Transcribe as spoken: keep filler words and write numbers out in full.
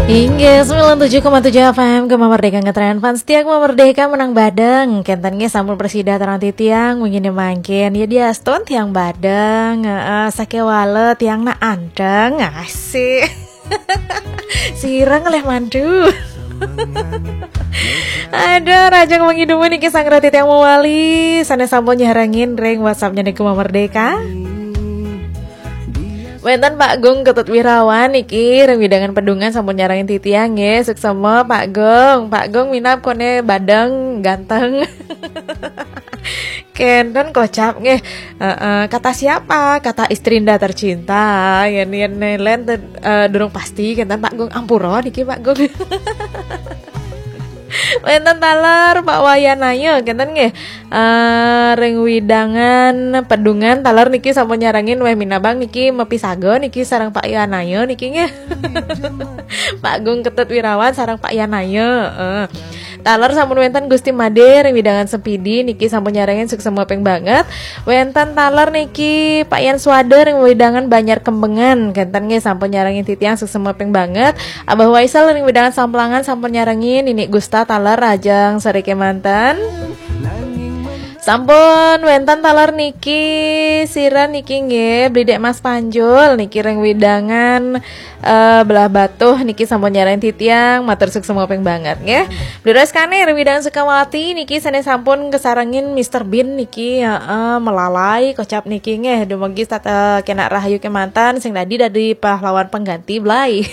Inggih, sembilan tujuh koma tujuh F M Gema Merdeka, ngetren fans setia Gema Merdeka menang badeng. Kenten nggih sampun prasida tarang titiang, wingi mangkin. Ya diastun tiang badeng. Heeh, sakéwala tiang nak anteng. Asik. Sireng leh mantu. Aduh, rahajeng wengi dumun niki sareng titiang mawali. Sané sampun nyarengin ring WhatsApp-nya niki Gema Merdeka. Wénten Pak Gung Ketut Wirawan niki ring wewidangan Pedungan sampun nyarengin titiang nggih. Suksema Pak Gung. Pak Gung minab koné badeng ganteng. Kenten kocap nggih. Heeh, kata siapa? Kata istrinda tercinta. Yén yén lén eh, durung pasti kenten Pak Gung, ampura niki Pak Gung. Wénten taler Pak Wayanaya kenten nggih. Eh, ring wewidangan Pedungan taler niki sampun nyarengin wéh minabang niki mapisaga niki sareng Pak Yanaya niki nggih. Pak Gung Ketut Wirawan sareng Pak Yanaya. Eh. Taler sampun wénten Gusti Madé ring wewidangan Sempidi niki sampun nyarengin suksema ping banget. Wénten taler niki Pak Yan Swada ring wewidangan Banjar Kembengan. Kenten nggih sampun nyarengin titiang suksema ping banget. Abah Waisel ring wewidangan Samplangan sampun nyarengin, Nini Gusta taler rahajeng sareng kémanten. Sampun wénten taler niki, sira niki nggih, Bli Dék Mas Panjul niki ring wewidangan eh, Blahbatuh niki sampun nyarengin titiang, matur suksema ping banget nggih. Bli Reskane ring wewidangan Sukawati niki sané sampun kasarengin Mister Bean niki, heeh, melalai kocap niki nggih, dumugi sat-, eh, kénak rahayu kémanten, sing dadi dadi pahlawan pengganti Blai.